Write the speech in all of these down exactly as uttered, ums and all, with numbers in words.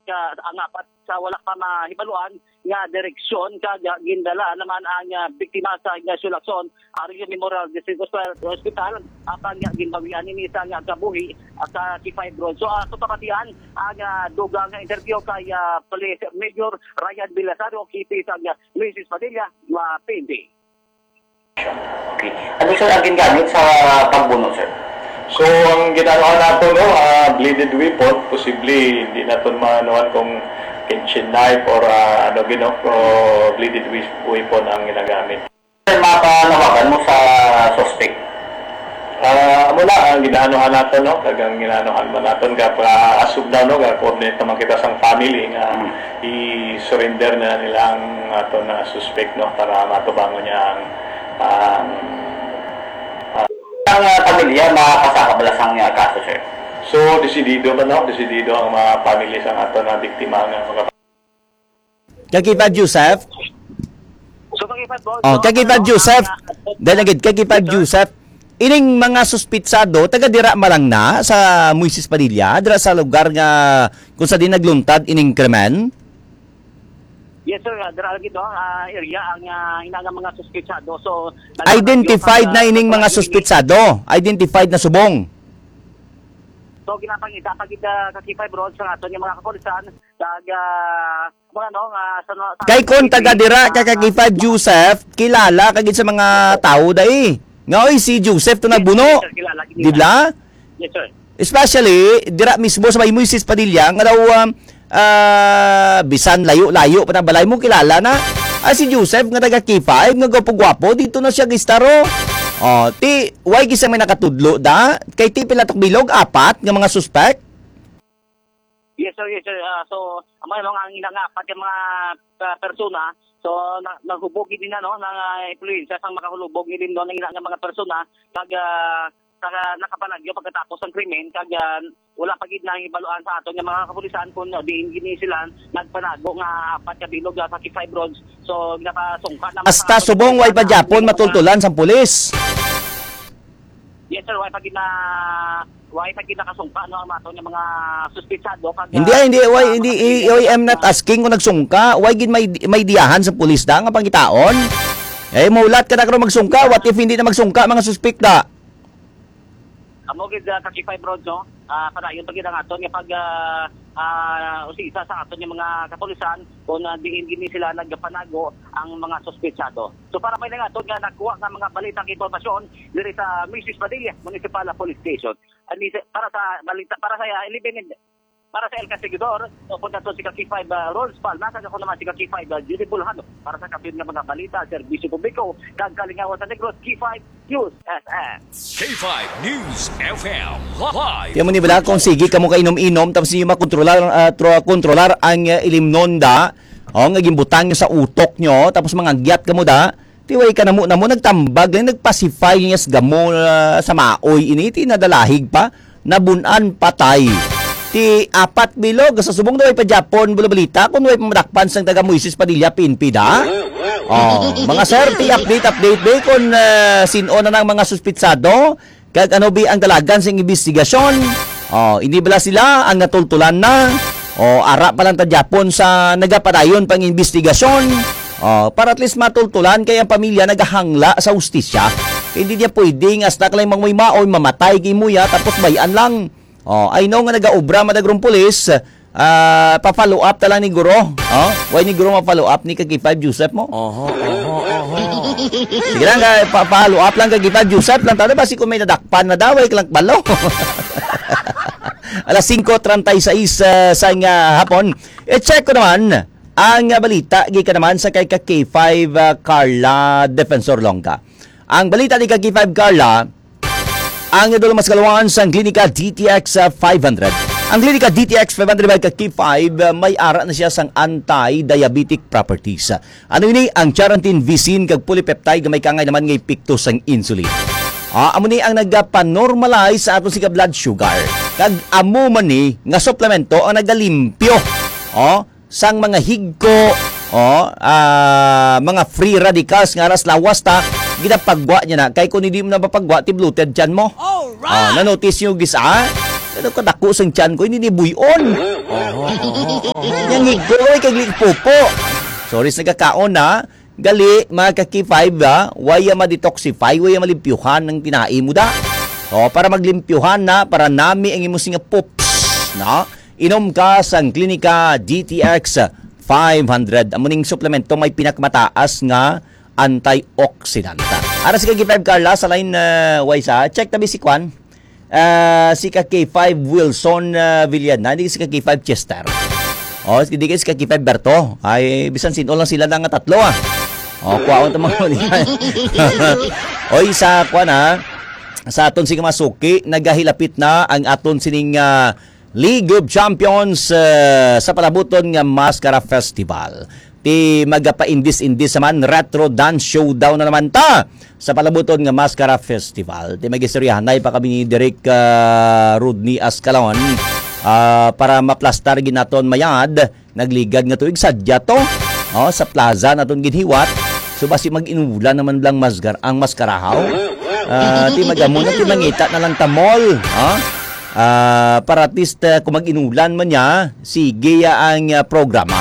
Ka, ang apat sa wala pa mahibaluan nga direksyon, kag, ah, gindala naman ang, ah, biktima sa Ignacio Lacson Arroyo Memorial District Hospital, Hospital, apan nga ginbawian ini sa, ah, kabuhi, ah, sa K five Road. So, ah, sa pamatian ang, ah, dugang nga interview kay, ah, Police Major Ryan Belisario, K P sa, ah, Luis Padilla, ah, P N P. Okay. Ano, sir, ang gingamit sa pagbuno, sir? So, ang ginanuhan nato, no, ah, bladed weapon, posible hindi naton maanuhan kung kitchen knife or, ah, ano gino, o bladed wea-, weapon ang ginagamit. Sir, mapanawagan mo sa suspect? Ah, amo na ang ginanuhan nato, no, kag ang ginanuhan man naton, kag pa-, as of now, no, ga-coordinate naman kita sang family nga Hmm. i-surrender na nila ang ato na suspect, no, para matubangon niya ang, ang, ah, Ang, ah, pamilya makasaka bala sang, ah, kaso, sir? So, desidido man, no? Desidido ang mga pamilya sang ato na biktima nga maka- Kag K five Joseph? So, kag K five, boss, Oh, no? Kag K five Ano, Joseph. ang, ah, Dahil lagi, kag K five Yes, sir. Joseph. Ining mga suspitsado, taga dira man lang na sa Moises Padilla, dira sa lugar nga kung sa di nagluntad ining krimen? Yes, sir. Ah, dira lagi to, ah, area ang, ah, ina nga mga suspitsado. So, nagpatagyo Identified kag, na ah, ining mga nagpatagyo ini. Suspitsado. Identified na subong. So, ginapangita pa gid, ah, ka K five Road sa aton nga mga kapulisan, kag, ah, mga, no, nga sa, sa Kay kon taga dira ka, ka K five Joseph, kilala ka gid sa mga tao dai. Nga, oy, si Joseph to Yes, nagbuno. Yes, sir, kilala gid Di nila. Bala? Yes, sir. Especially, dira mismo sa may Moises Padilla, nga daw, um, ah, bisan layo-layo pa na balay mo, kilala na. Ah, si Joseph nga taga K five, nga gwapo-gwapo, dito na siya gistaro. Oh, ti, why gisa may nakatudlo da? Kay ti pila tok bilog, apat nga mga suspect? Yes, sir, yes, sir. Ah, so, amo lang ang ina nga apat ka mga, ah, persona. So, na, naghubog gid na, no, nga, ah, influensya sang makahulubog gid, no, ang ina nga mga persona. Kag, ah, kag nakapanagyo pagkatapos sang krimen, kag, ah, wala pa gid nahibaluan sa aton nga mga kapulisan kung diin gini sila nagpanago nga apat ka bilog, ah, sa K five Roads. So, ginapasungka na Hasta sa subong, way pa mga gyapon matultulan sang pulis. Yes, sir, way pa gid na, way pa gid nakasungka, no, ang aton nga mga suspitsado. Kag, Hindi, ah, hindi, way, ah, hindi, makasungka I, I am not asking kung nagsungka. Way gid may, may diyahan sa pulis da nga pangitaon. Eh, maulat ka na karon magsungka. What if hindi na magsungka, mga suspek da? Amo gid, ah, ka K five Road, no? Ah, padayon pa gid ang aton nga pag, ah, ah, usisa sa aton nga mga kapulisan kung, ah, diin gini sila nagpanago ang mga suspitsado. So, para may nga aton nga nakuha nga mga balita kag impormasyon diri sa Moises Padilla Municipal Police Station. Ani sa, para sa balita, para sa, ah, eleven, para sa El Castigador, o kung nato si ka K five, ah, Rolls Palma, kag ako naman si ka K five, ah, Judy Bulhano. Para sa kapin nga mga balita, serbisyo publiko, kag kalingawan sa Negros, K five News F M. K five News F M Live. Kaya mo ni bala kung sige kamo kainom-inom, tapos ninyo makontrolar, ah, tro-, kontrolar ang, ah, ilimnon da, o, nga ginbutang nyo sa utok nyo, tapos mangagyat kamo da, ti way ka namo, namo nagtambag lang, nagpasify niya sa gamo, ah, sa maoy ini, ti nadalahig pa, nabun-an, patay. Ti apat bilog, sa subong daw ay pa Japon, bulabalita, kung way pa madakpan sang taga Moises Padilla, P N P da. Oh, mga sir, ti update, update, be, kung, ah, sin-o na ng mga suspitsado, kag ano bi ang dalagan sing imbestigasyon? Oh, hindi bala sila ang natultulan na? Oh, ara pa lang ta gyapon sa nagapadayon pang imbestigasyon. Oh, para at least matultulan kay ang pamilya nagahangla sa hustisya. Kay hindi niya pwedeng hasta ka lang mamoy-maoy, mamatay kay muya, tapos bayan lang. Oh, I know nga nagaobra madagrong pulis, ah, pa-follow up ta lang ni Guro. Oh, why ni Guro ma-follow up ni ka K five Joseph mo? Oho, oho, oho. Sige lang, kay pa-, follow up lang kay K five Joseph lang. Tawag ba si kung may nadakpan na daw, ay lang balo. Alas singko treinta y seis, ah, sa nga hapon. I-check ko naman ang, ah, balita, gikan naman sa kay ka K five, ah, Carla Defensor Longga. Ang balita ni ka K five Carla, ang idol mas kalawaan sang Klinika D T X five hundred. Ang Klinika D T X five hundred by ka K five, ah, may ara na siya sang anti-diabetic properties. Ano ini? Ang charantin, visin, kag polypeptide nga may kangay naman nga epekto sang insulin. Ah, amo ni ang nagapanormalize sa aton sing blood sugar. Kag amo man ni nga suplemento ang nagalimpyo, oh, sang mga higko, oh, ah, mga free radicals nga aras lawas ta, ginapagwa niya na. Kay kung hindi mo na mapagwa, ti bloated tiyan mo. Alright! Ah, na-notice nyo, gis, ah? Ano kadako sang tiyan ko, hindi ni buyon. Oho, oho, oho. Yang higko, oy, kay glipupo. Sorry sa nagakaon, ha. Gali, mga ka-K five, ha. Waya ma-detoxify, waya malimpyuhan ang tinai mo da. O, para maglimpyuhan na, para nami ang imo singa poops, no? Inom ka sang Klinika D T X five hundred. Amo ning suplemento may pinakamataas nga antioxidant. Ara si ka-K five Carla sa line, uh, why sa? Check tabi si Kwan. Ah, si ka-K five Wilson, ah, Villana, di si ka-K five Chester. O, di kay si ka-K five Berto. Ay, bisan sin-o lang sila na nga tatlo, ah. O, kuwaon ta mga ulihan. Oy, sa kuwan, ha? Sa aton sing masuki, nagahilapit na ang aton sining, ah, League of Champions, ah, sa palabuton nga Mascara Festival. Ti magapaindis-indis naman, Retro Dance Showdown na naman ta sa palabuton nga Mascara Festival. Ti magistoryahanay pa kami ni Direk, ah, Rodney Ascalon, ah, para maplastar ginaton mayad, nagligad nga tuig sadya to. O, sa plaza naton ginhiwat. So, basi mag-inulan naman lang masgar-, ang maskarahaw. Ah, ti magamo na, ti mangita na lang ta mall. Ha? Ah, para at least, ah, kung mag-inulan man niya, sige ya ang, ah, programa.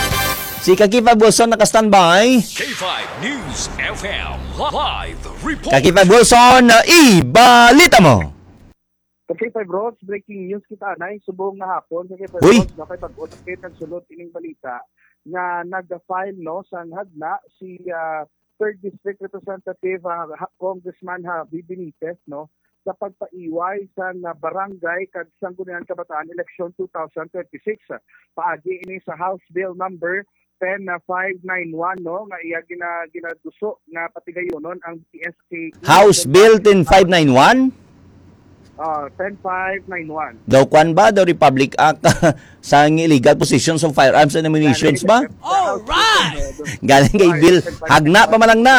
Si Kakifa Wilson naka-standby. K five News F M live report. Kakifa Wilson, ah, ibalita mo. Okay, five Rods, breaking news kita anay subong nga hapon. Sa K five Uy! Rods, nakay pag-update ang sulod ining balita nga nag-file, no, sang hagna si, ah, third District Representative, ah, ha-, Congressman Javi Benitez, no, sa pagpaiway sang, ah, barangay kag Sangguniang Kabataan Election two thousand twenty-six. Paagi ini sa House Bill number ten five nine one, no, nga iya gina-, ginaduso nga patigayonon ang D S K E. House Bill ten five nine one? Ah, ten five nine one. Daw kwan ba? Daw Republic Act sa illegal possession of firearms and ammunitions ba? All right! Galing kay Bill. Hagna pa man lang na.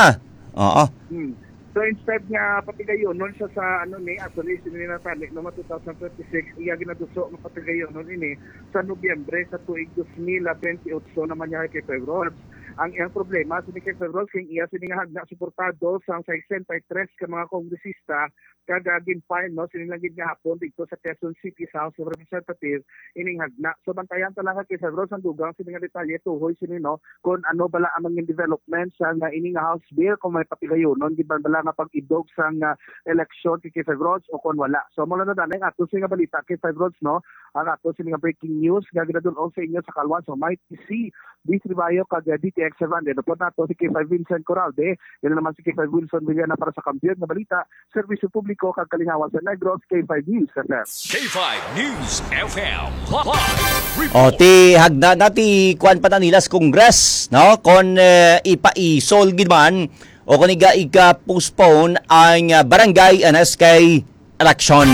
Oo. Hmm. So, instead nga patigayonon siya sa, ano ni, actually, sini na tani, no, two thousand twenty-six, iya ginaduso nga patigayonon ini sa Nobyembre sa tuig dos mil twenty-eight naman niya kay Febron. Ang iyang problema, sini kay Febron, kay iya sini nga hagna suportado sa sesenta y tres ka mga kongresista, kag, ah, gin-file, no, sini lang gid nga hapon dito sa Quezon City sa House of Representatives ining hagna. So, bantayan ta lang kay Febron sang dugang sini nga detalye tuhoy sini, no, kung ano bala ang mga development sa nga ining House Bill, kung may patigayonon gid man bala nga pag-idog sang, ah, eleksyon kay K five Rods o kung wala. So, mula na danay ang ato sini nga balita kay five Rods, no? Ang ato sini nga breaking news nga ginadul-ong sa inyo sa Kalwan sa Mighty C, Beast Ribayo kag, ah, D T X seven hundred. Upod nato si K five Vincent Coralde, yan naman si K five Wilson Villana para sa Kampiyon nga Balita, Serbisyo Publiko kag Kalingawan sa Negros, K five News F M. K five News F M live report. O, ti hagna na ti kuan pa na nila sa Congress, no? Kon, eh, ipaisol gid man o kon iga ika-postpone ang, ah, barangay N S K election.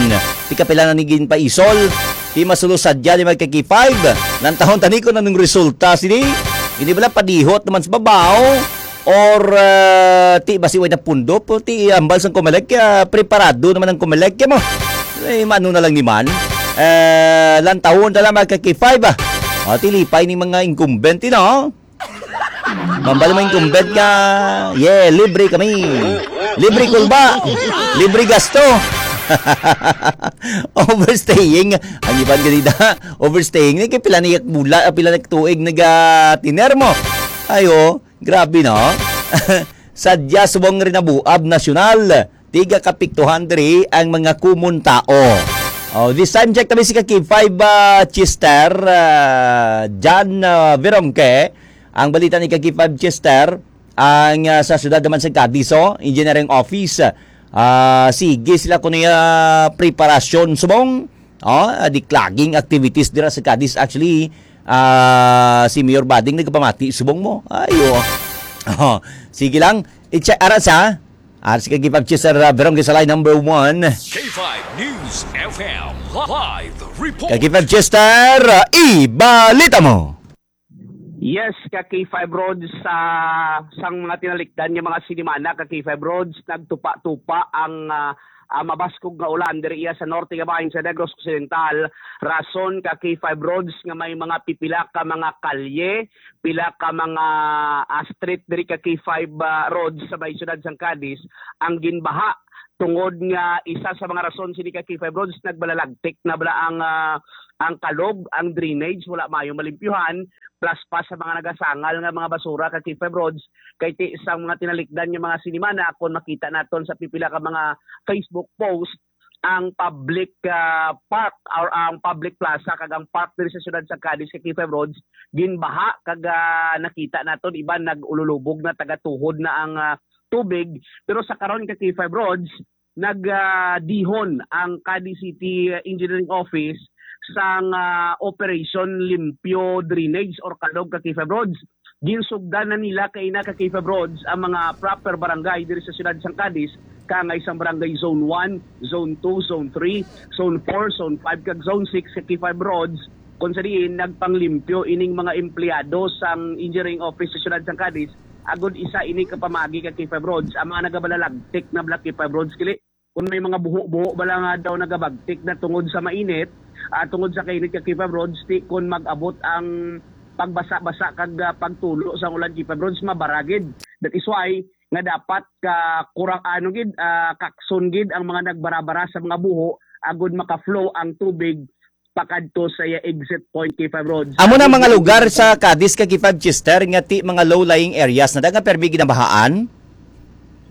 Ti kapila na ni ginpaisol, ti masulo sadya ni mga ka-K five. Nantahon tani kon anong resulta sini. Ini bala padihot naman sa babaw. Or, ah, ti basi way na pundo po, ti ambal sang Comelec, ah, preparado naman ang Comelec, ya mo. Eh, mano na lang ni man. Eh, lantawon na lang mga ka-K five, ah. O, ti lipay ni mga incumbent, you know? Mambal mo incumbent nga, yeah, libre kami. Libre kulba. Libre gasto. Overstaying. Ang iban ganida, overstaying. Ni kay pila ni bula, pila ni tuig nagatiner mo. Ayo. Grabe, no? Sadya subong rinabuab nasyonal, tiga kapiktuhan diri ang mga kumon tao. Oh, this time, check tabi si ka K five, ah, Chester, ah, John, ah, Verongque. Ang balita ni ka K five Chester, ang, ah, sa siyudad naman sa Cadiz, oh, Engineering Office, ah, sige sila kuno ya preparasyon subong. Oh, ah, declogging activities dira sa Cadiz. Actually, ah, si Mayor Bading nagpamati subong mo. Ayo. Oh, sige lang. I-check ara sa. Ara si Kagipag Chester, ah, Verongque sa line number one. K five News F M live report. Kagipag Chester, ah, ibalita mo. Yes, ka K five Rods, sa sang mga tinalikdan nga mga sinimana, ka K five Rods, nagtupa-tupa ang, ah, ah, mabaskog nga ulan diri iya sa norte nga bahin sa Negros Occidental. Rason, ka K five Rods, nga may mga pipila ka mga kalye, pila ka mga, ah, street diri, ka K five, ah, Rods sa may siyudad sang Cadiz ang ginbaha. tungod nga isa sa mga rason sini ka K five Roads, nagbalalagtik na bala ang, ah, ang kalog, ang drainage, wala mayo malimpyuhan, plus pa sa mga nagasangal nga mga basura ka K five Roads, kay ti sang mga tinalikdan nga mga sinimana, kung makita naton sa pipila ka mga Facebook post, ang public, ah, park or ang public plaza kag ang park diri sa siyudad sa Cadiz kay K five Roads ginbaha kag, ah, nakita naton iban nag-ululubog na, tagatuhod na ang, ah, tubig. Pero sa karon ka K five Roads, nag, ah, dihon ang Cadiz City Engineering Office sang, ah, Operation Limpyo Drainage or Kalog ka K five Roads. Ginsugdan na nila kaina ka K five Roads ang mga proper barangay diri sa siyudad sang Cadiz, kaangay sang barangay Zone one, Zone two, Zone three, Zone four, Zone five, kag Zone six ka K five Roads, kung sa diin nagpanglimpyo ining mga empleyado sang engineering office sa siyudad sang Cadiz, agod isa ini ka pamagi ka K five Roads ang mga nagabalalagtik na bala K five Roads, kili. Kung may mga buho-buho bala nga daw nagabagtik na tungod sa mainit, ah, tungod sa kainit ka K five Roads, ti kon mag-abot ang pagbasa-basa kag, ah, pagtulo sa ulan K five Roads, mabara gid. That is why nga dapat ka kurang ano gid, ah, kakson gid ang mga nagbarabara sa mga buho agud maka-flow ang tubig pakadto sa iya exit point K five Roads. Amo na mga lugar sa Cadiz kag K five, Chester, nga ti mga low-lying areas na da nga permi ginabahaan?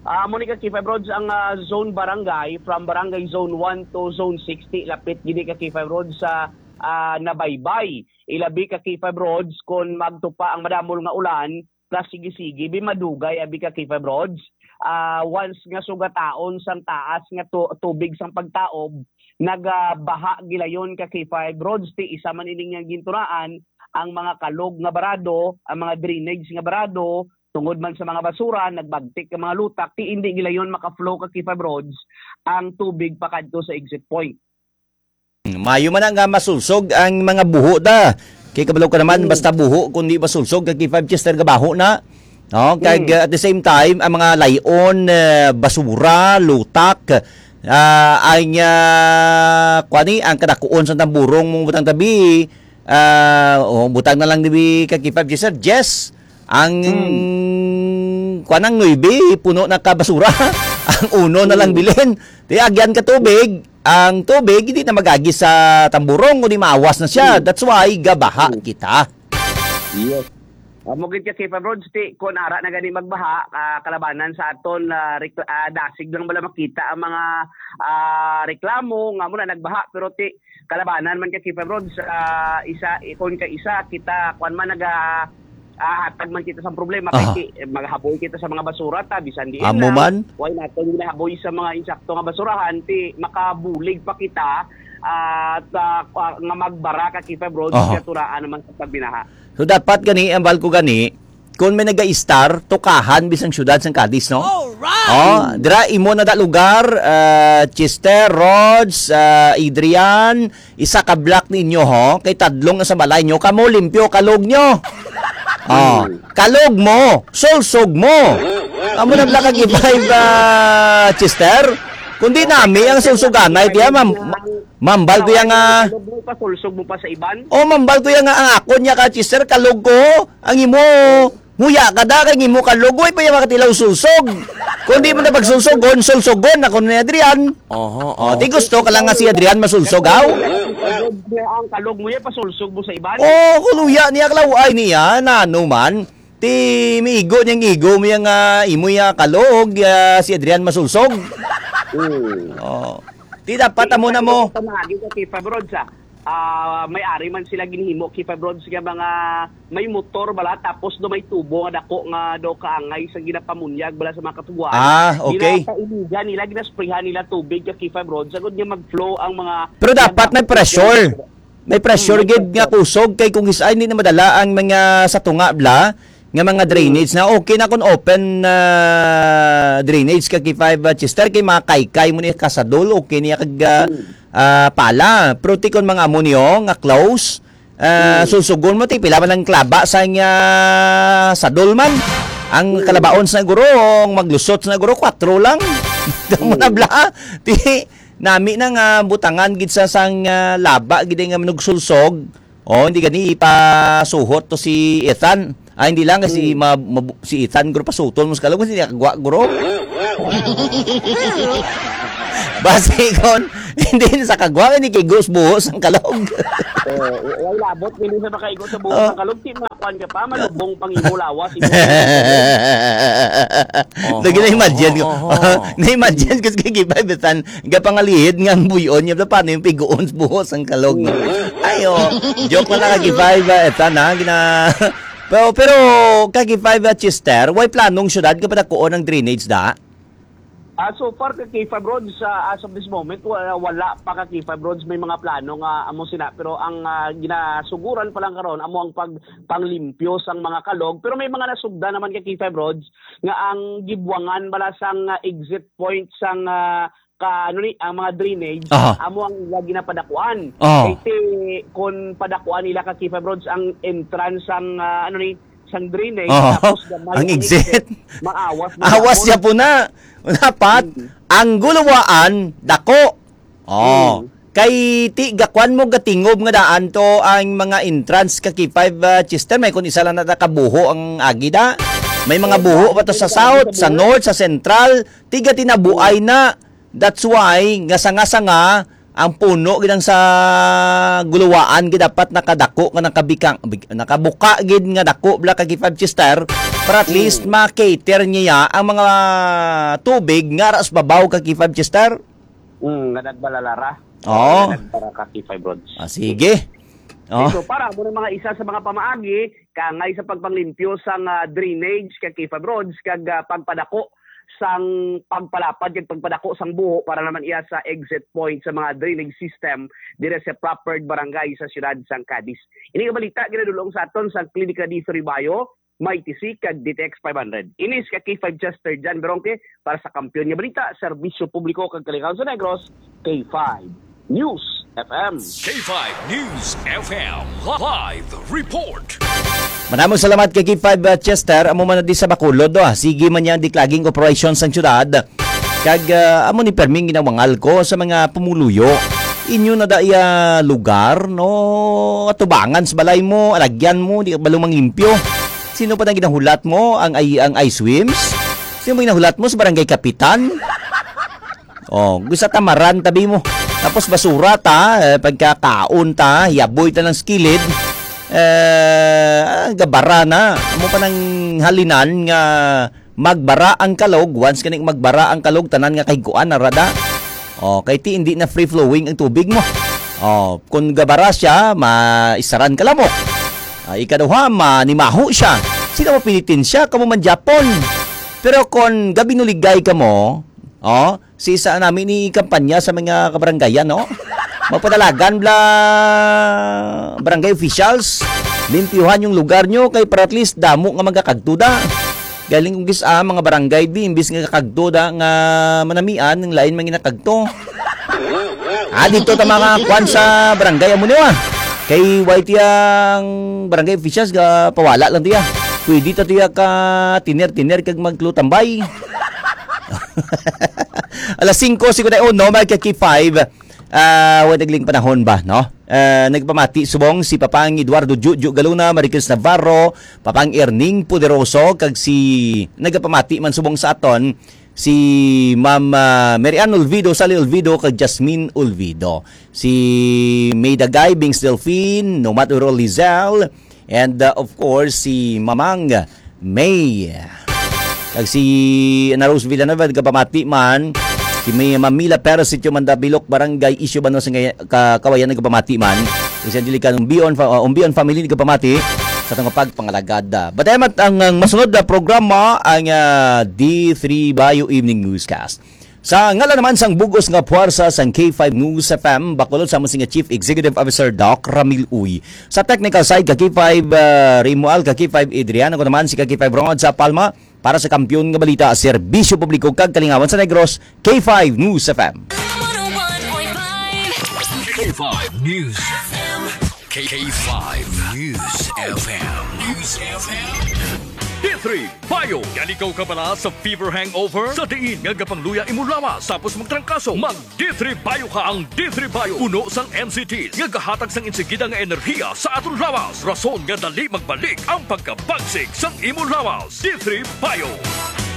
Ah, amo ni ka K five Roads ang, ah, zone barangay, from barangay zone one to zone six, ti lapit gid ka K five Roads sa, ah, nabaybay. Ilabi ka K five Roads kon magtupa ang madamol nga ulan, plus sige-sige, bi madugay abi ka K five Roads. Ah, once nga sugataon sang taas nga tu-, tubig sang pagtaob, nagabaha gilayon ka K five Roads, ti isa man ini nga gintunaan, ang mga kalog nga barado, ang mga drainage nga barado, tungod man sa mga basura, nagbagtik ang mga lutak, ti indi gilayon maka-flow ka K five Roads ang tubig pakadto sa exit point. Mayo man na nga masulsog ang mga buho da. Kay kabalo ka naman, Hmm. basta buho, kung di masulsog, kag K five Chester gabaho na. No? Kag, Hmm. uh, at the same time, ang mga layon, uh, basura, lutak, uh, ang, uh, kuwani, ang kadakuon sa tamburong mong butang tabi, uh, oh, butang na lang dibi kag K five Chester, Jess, ang Hmm. kuwan ang nuebe, puno na ka basura. Ang uno na lang Hmm. bilin. Di agyan ka tubig. Ang tubig, hindi na magagi sa tamburong, kundi maawas na siya. Hmm. That's why, gabaha Hmm. kita. Yes. Amo gid ka, K five Roads, ti, kung ara na gani magbaha, ah, kalabanan sa aton, ah, rekla-, ah, dasig lang bala makita ang mga, ah, reklamo, nga mo na nagbaha, pero ti, kalabanan man ka, K five Roads, ah, isa, kung ka isa, kita, kwan man, naga, ah, hatag man kita sa problema, Aha. kay ti, maghaboy kita sa mga basura, ta, bisan diin Amo na, man? why naton ginahaboy sa mga insakto nga basurahan, ti, makabulig pa kita, ah, ta, ah, nga magbara ka, K five Roads, Aha. katuraan naman sa pagbinaha. So, dapat gani, ang balko gani, kung may naga-star, tukahan bisang syudad sang Cadiz, no? Alright! Oh, dira imo na da lugar, ah, Chester, Rods, ah, Adrian, isa ka block ninyo, ho? Kay tadlong na sa balay nyo, kamo limpyo, kalog nyo. Oh, Hmm. kalog mo, sulsog mo. Amo na lang kag five, ah, Chester. Kung di nami ang sulsuganay, tiya, ma'am, Mambal ko ya nga Kalog mo, pasulsog mo pa sa iban? Oh, mambal ko ya nga ang akon niya ka, Chester, kalog ko. Ang imo, huya ka da, kay ang imo kalog, way pa ya makatilaw sulsog. Kung di mo na pagsulsogon, sulsogon, ako ni Adrian. Oho, Oh, oho. di gusto ka lang nga si Adrian masulsog, aw? Ang kalog mo ya, pasulsog mo sa iban? Oh, kuluya niya, kalaway niya, nano man. Ti miigo niyang igo mo ya nga imo ya kalog, ah, si Adrian masulsog. Hmm. Oh. Ti dapat amo na mo. Pamagi sa K five Roads, ah. Ah, may ari man sila ginhimo K five Roads nga mga may motor bala, tapos do may tubo nga dako nga daw kaangay sa ginapamunyag bala sa mga katubuan. Ah, okay. Ginapailigan nila, ginasprayhan nila tubig ka K five Roads, agod nga mag-flow ang mga Pero dapat may pressure. May pressure Hmm, may gid nga pressure. kusog kay kung is-, ay, hindi na madala ang mga sa tunga bla nga mga Hmm. drainage na okay na kung open, ah, drainage ka K five, ah, Chester, kay mga kaykay mo ni kasadol, okay niya kag, ah, Hmm. ah, pala. Pero ti kon mga amo niyo nga close, ah, Hmm. susugon mo ti pila man ang klaba sa nga sadol man. Ang Hmm. kalabaon sa guro, ang maglusot sa guro, kwatro lang. Damo na Hmm. bla. Ti nami na nga butangan gid sa sang, ah, laba gid nga manugsulsog. Oh, hindi gani ipasuhot to si Ethan. Ah, hindi lang si Hmm. ma-, mabu-, si Ethan guro pasuton mo sa kalog, hindi niya kagwa guro. Basi kon, hindi na sa kagwa, ni kay Gus buhos ang kalog. Eh, way labot, hindi sa makaigo sa buhos Oh. Ang kalog. Di makuan ka pa, malubong pang imo lawas, imo Lagi na-imagine ko. Oh, oh, oh. Na-imagine ko sa kay Gibay, bisan, gapangalihid nga ang buyon niya, paano yung piguon sa buhos ang kalog? Mm. Ayo, joke na lang, Kag Gibay, ba? Eta na, gina-, pero, pero, Kag Gibay, ba, Chester, way planong syudad nga padakuon ang drainage, da? Ah, so far, ka K five Roads, ah, as of this moment, wa-, wala pa, ka K five Roads, may mga plano nga amo sina, pero ang, ah, ginasuguran pa lang karon amo ang pag-, panglimpyo sang mga kalog, pero may mga nasugda naman, ka K five Roads, nga ang gibuangan bala sang, ah, exit point sang, ah, ka, ano ni, ang mga drainage, Aha. amo ang ila ginapadakuan. Oh. Kay ti, kung padakuan nila, ka K five Roads, ang entrance sang, ah, ano ni, sang drainage, Oh. tapos gamay Ang ang exit. exit, maawas na Awas gihapon. Siya po na. Dapat, Mm. ang guluwaan, dako. Oh. Mm. Kay ti, gakuan mo, gatingob nga daan to ang mga entrance, ka K five, ah, Chester. May kung isa lang na nakabuho ang agi da. May mga Eh, buho pa to sa sa south, sa north, sa central. Tiga tinabuay na. That's why, nga sanga-sanga, ang puno gid ang sa guluwaan gid dapat nakadako nga nakabikang, big-, nakabuka gid nga dako bala, ka K five, Chester, para at least Mm. ma-cater niya ang mga tubig nga ra sa babaw, ka K five, Chester. Mm, nga nagbalalara. Oo. Nga nagbara, ka K five Roads. Ah, sige. Oh. So, para mo ng mga isa sa mga pamaagi, kangay sa pagpanglimpyo sang, ah, drainage, ka K five Roads, kag, ah, pagpadako sang pagpalapad kag pagpadako sang buho para naman iya sa exit point sa mga drainage system dire sa proper barangay sa siyudad sang Cadiz. Ini nga balita ginadulong sa aton sang Klinika D three Bio, Mighty C, kag D T X five hundred. Ini si ka K five Chester John Beronque para sa Kampiyon nga Balita, Serbisyo Publiko kag Kalingawan sa Negros, K five News F M. K five News F M live report. Manamong salamat kay K five, uh, Chester. Amo man na di sa Bacolod, oh. Sige man yang diklaging operasyon sang syudad. Kag, uh, amo ni perming ginawangal ko sa mga pumuluyo. Inyo na da iya lugar, no? Atubangan sa balay mo, alagyan mo, di ka balo manglimpyo. Sino pa nang ginahulat mo ang ay-, ang I swims? Sino mo ginahulat mo sa barangay kapitan? Oh, gusto tamaran tabi mo. Tapos basura ta, eh, pagkakaon ta, yaboy ta ng skilid. Eh, ah, gabara na. Amo pa nang halinan nga magbara ang kalog. Once kaning magbara ang kalog, tanan nga kahigkuan na rada. Oh, kay ti hindi na free flowing ang tubig mo. Oh, kung gabara siya, maisaran ka lamok. Ah, ikaduha, manimaho siya. Sila mapinitin siya, kamo man Japon. Pero kung gabinuligay ka mo, oh, si isa namin ni kampanya sa mga kabaranggayan, no? Magpadalagan bla barangay officials, limpyuhan yung lugar nyo kay para at least damo nga magakagto da. Galing kung gis-, ah, mga barangay bi, imbis nga kakagto da nga manamian, ang lain man ginakagto. Ah, dito ta mga kwan sa barangay amo niyo, ah. Kay Y T ang barangay officials ga pawala lang tiya. Pwede ta tiya ka tiner-tiner kag magklutambay. Alas singko cincuenta y uno, may ka K five. Ah, wala nagling panahon ba, no? Ah, nagpamati subong si Papang Eduardo Juju Galuna, Maricris Navarro, Papang Erning Poderoso, kag si nagapamati man subong sa aton, si Ma'am, ah, Mary Ann Olvido, Sally Olvido, kag Jasmine Olvido. Si May Dagay, Bings Delfin, Nomad Uro Lizelle, and, uh, of course, si Mamang May. Kag si Ana Rose Villanueva, nagapamati man. Si May Mamila Perez, Sitio Mandabilok, Barangay Isyo, Banwa sa Ngay-, Ka-, Kawayan, nagapamati man. Si Angelica Umbion, fa-, uh, Umbion family, nagapamati sa tong pagpangalagad. But, eh, mat-, ang, ang masunod na programa, ang, ah, D three Bio Evening Newscast. Sa ngalan naman sang bugos nga puwersa sang K five News F M, bakulod sa amon nga Chief Executive Officer, Doc Ramil Uy. Sa technical side, ka K five, ah, Rimual, ka K five Adrian, ako naman si ka K five Ronald sa Palma, para sa Kampiyon nga Balita, Serbisyo Publiko kag Kalingawan sa Negros, K five News F M. K five News F M. K five News F M. News F M. Three Bio. Yan ikaw kabala sa fever hangover? Sa diin nga gapangluya imo lawas tapos magtrangkaso, mag D three Bio ka. Ang D three Bio, puno sang M C Ts nga gahatag sang insigida nga enerhiya sa aton lawas, rason nga dali magbalik ang pagkabagsik sang imo lawas. D three Bio.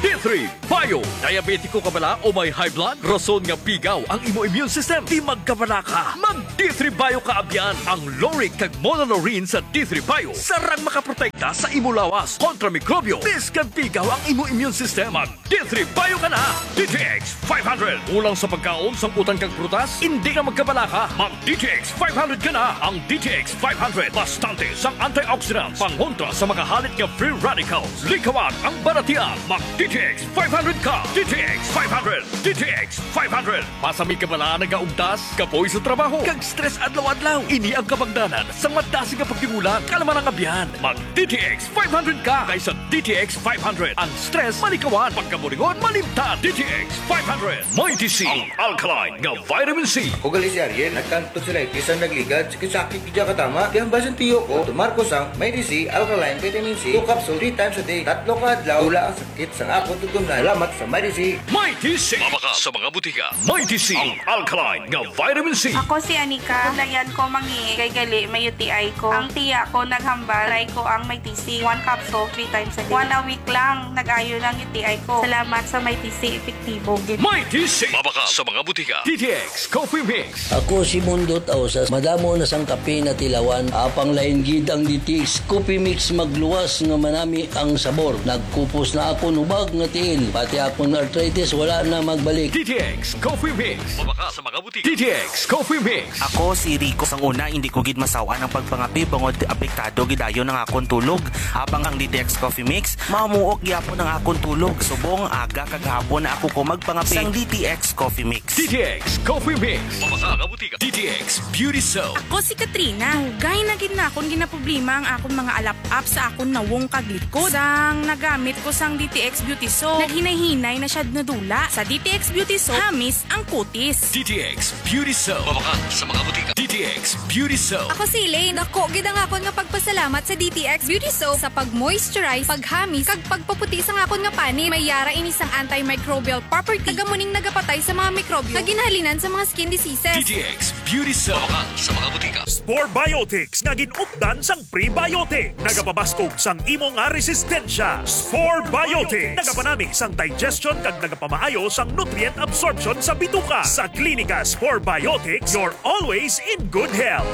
D three Bio. Diabetiko ka bala o may high blood? Rason nga pigaw ang imo immune system? Di magkabala ka. Mag D three Bio ka abyan. Ang lauric kag monolaurin sa D three Bio sarang makaprotekta sa imo lawas kontra mikrobyo. Bisan pigaw ang imo immune system, mag D three Bio ka na. D T X five hundred. Kulang sa pagkaon, sang utan kag prutas? Indi na magkabala ka. Mag D T X five hundred ka na. Ang D T X five hundred, bastante sang antioxidants, pangontra sa mga halit nga free radicals. Likawan ang balatian. Mag D T X five hundred ka. D T X five hundred. D T X five hundred. Basi may kabala, nagaugtas, kapoy sa trabaho, kag stress adlaw-adlaw. Ini ang kabangdanan sang madasig nga pagtigulang. Kalma lang, abyan. Mag D T X five hundred ka, kay sa D T X five hundred, ang stress malikawan, pagkaburingon malimtan. D T X five hundred. Mighty C, ang alkaline nga vitamin C. Ako gali si Ariel, nagkantod sila, eh, bisan nagligad, sakit-sakit, di ka tama. Kaya ang basin tiyo ko, tumar ko sang Mighty C, alkaline vitamin C, two capsule, three times a day, tatlo ka adlaw, wala ang sakit sang ako tugon na. Salamat sa Mighty C. Mighty C. Mabakal sa mga butika. Mighty C, ang alkaline nga vitamin C. Ako si Anika. Kulayan ko mangi kay gali may U T I ko. Ang tiya ko naghambal, try ko ang Mighty C. One capsule, three times a day. One a week lang, nag-ayo lang U T I ko. Salamat sa Mighty C, epektibo gid. Mighty C. Mabakal sa mga butika. D T X Coffee Mix. Ako si Mundot Ausas. Madamo na sang kape natilawan. Apang lain gid ang D T X Coffee Mix, magluwas nga manami ang sabor. Nagkupos na akon hubag nga tiil. Pati akon arthritis wala na magbalik. D T X Coffee Mix. Mabakal sa mga butika. D T X Coffee Mix. Ako si Rico. Sang una, hindi ko gid masaw-an ang pagpangape bangod apektado gid dayon ang akon tulog. Apang ang D T X Coffee Mix, mamuok gyapon ang akon tulog. Subong aga kag hapon na ako ko magpangape sang D T X Coffee Mix. D T X Coffee Mix. Mabakal sa mga butika. D T X Beauty Soap. Ako si Katrina. Dugay na gid na akon ginaproblema ang akon mga alap-ap sa akon nawong kag likod. Sang nagamit ko sang D T X Beauty Soap, naghinay-hinay na siya nadula. Sa D T X Beauty Soap, hamis ang kutis. D T X Beauty Soap. Mabakal sa mga butika. D T X Beauty Soap. Ako si Elaine. Dako gid ang akon nga pagpasalamat sa D T X Beauty Soap sa pag-moisturize, paghamis, kag pagpaputi sang akon nga panit. May yara ini sang antimicrobial property, kag amo ning nagapatay sa mga mikrobyo nga ginhalinan sa mga skin diseases. D T X Beauty Soap. Mabakal sa mga butika. Spore Biotics nga gin-updan sang prebiotic, nagapabaskog sang imo nga resistensya. Spore Biotics nagapanami sang digestion kag nagapamaayo sang nutrient absorption sa bituka. Sa Klinika Spore Biotics, you're always in good health.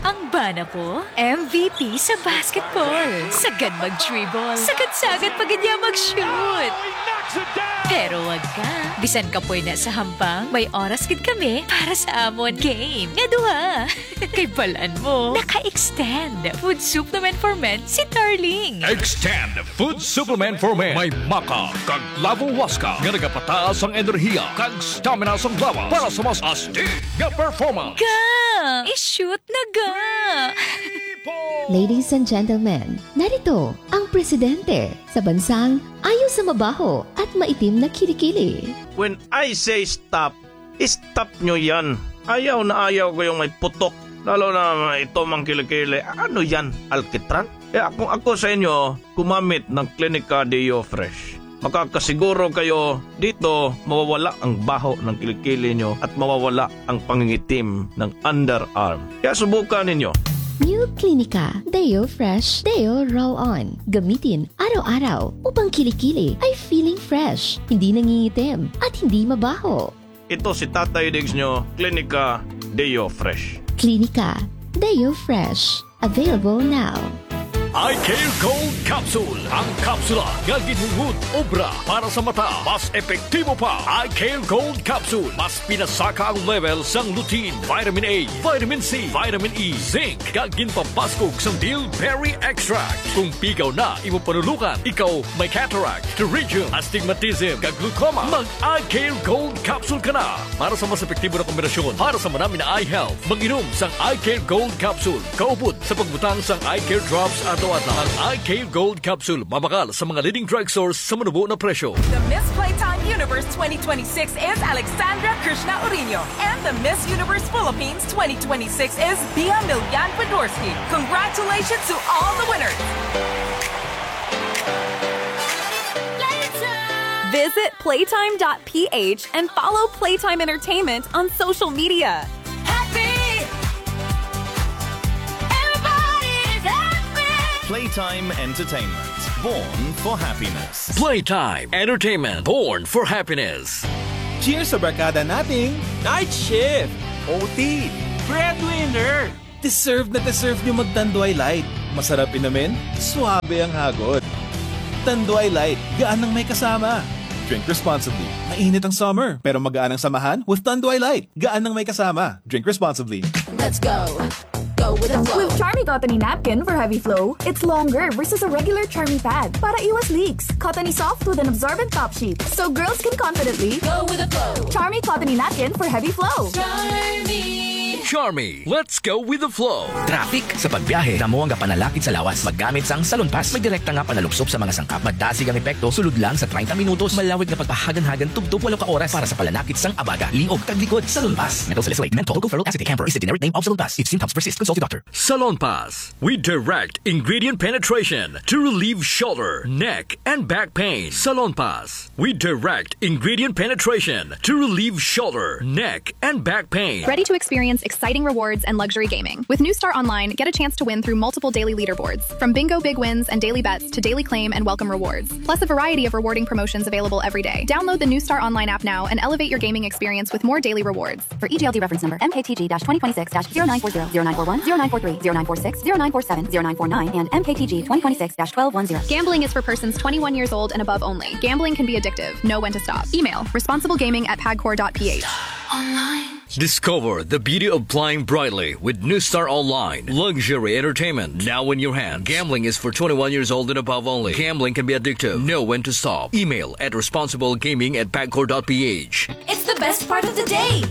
Ang bana ko, M V P sa basketball. Sagad mag-dribble, sagad-sagad pa gid niya mag-shoot. Pero wag ka. Bisan kapoy na sa hampang, may oras gid kami para sa amon game nga duha. Kay balan mo, naka-extend Food Supplement for Men si Darling. Extend Food Supplement for Men. May maca kag Lavo Huasca nga nagapataas ang enerhiya kag stamina sang lawas para sa mas astig nga performance. Ga! I-shoot na ga! Ladies and gentlemen, narito ang presidente sa bansang ayaw sa mabaho at maitim na kilikili. When I say stop, stop nyo yan. Ayaw na ayaw ko yung may putok. Lalo na ito mang kilikili. Ano yan? Alkitran? Kaya kung ako sa inyo, gumamit ng Clinica Deo Fresh. Makakasiguro kayo dito mawawala ang baho ng kilikili nyo at mawawala ang pangingitim ng underarm. Kaya subukan ninyo. New Clinica Deo Fresh Deo Roll On. Gamitin araw-araw upang kilikili ay feeling fresh, hindi nangingitim, at hindi mabaho. Ito si Tatay Diggs nyo, Clinica Deo Fresh. Clinica Deo Fresh. Available now. Eye Care Gold Capsule. Ang kapsula nga ginhingud obra para sa mata. Mas epektibo pa. Eye Care Gold Capsule. Mas pinasaka ang level sang lutein, vitamin A, vitamin C, vitamin E, zinc, kag ginpabaskog sang bilberry extract. Kung pigaw na imo panulungan, ikaw may cataract, pterygium, astigmatism, kag glaucoma, mag Eye Care Gold Capsule ka na. Para sa mas epektibo na kombinasyon para sa manami na eye health, mag-inom sang Eye Care Gold Capsule kaupod sa pagbutang sang Eye Care Drops adlaw-adlaw. Ang Eye Care Gold Capsule mabakal sa mga leading drugstores sa manubo na presyo. The Miss Playtime Universe twenty twenty-six is Alexandra Krishna Orino, and the Miss Universe Philippines twenty twenty-six is Bia Milian Podorski. Congratulations to all the winners! Visit playtime dot p h and follow Playtime Entertainment on social media. Happy! Everybody is happy! Playtime Entertainment. Born for happiness. Playtime Entertainment. Born for happiness. Cheers sa barkada nating Night shift! O T! Breadwinner! Deserve na deserve nyo mag-Tanduay Light. Masarap inumin, suabe ang hagod. Tanduay Light, gaan ang may kasama. Drink responsibly. Mainit ang summer, pero magaan ang samahan with Tanduay Light. Gaan ang may kasama. Drink responsibly. Let's go. Go with the flow. With Charmy Cottony Napkin for heavy flow, it's longer versus a regular Charmy pad para iwas leaks. Cottony soft with an absorbent top sheet, so girls can confidently go with the flow. Charmy Cottony Napkin for heavy flow. Charmy. Charmy, let's go with the flow. Traffic sa pagbiyahe, damo ang gapanalakit sa lawas. Maggamit sang Salon Pass. May direkta nga panalupsop sa mga sangkap. Madasig ang epekto, sulod lang sa treinta minutos. Malawig nga pagpahaganhagan, tubtob walo ka oras para sa palanakit sang abaga, liog, kag likod. Salon Pass. Menthol salicylate, menthol, tocoferol acetate, camphor is the generic name of Salon Pass. If symptoms persist, consult your doctor. Salon Pass. We direct ingredient penetration to relieve shoulder, neck, and back pain. Salon Pass. We direct ingredient penetration to relieve shoulder, neck, and back pain. Ready to experience exciting rewards and luxury gaming? With New Star Online, get a chance to win through multiple daily leaderboards, from bingo big wins and daily bets to daily claim and welcome rewards, plus a variety of rewarding promotions available every day. Download the New Star Online app now and elevate your gaming experience with more daily rewards. For E G L D reference number, M K T G dash twenty twenty-six dash zero nine four zero, zero nine four one, zero nine four three, zero nine four six, zero nine four seven, zero nine four nine, and M K T G twenty twenty-six dash twelve one zero. Gambling is for persons twenty-one years old and above only. Gambling can be addictive. Know when to stop. Email responsiblegaming at pagcor dot p h. Discover the beauty of flying brightly with New Star Online. Luxury entertainment now in your hand. Gambling is for twenty-one years old and above only. Gambling can be addictive. Know when to stop. Email at responsiblegaming at pagcor dot p h. It's the best part of the day.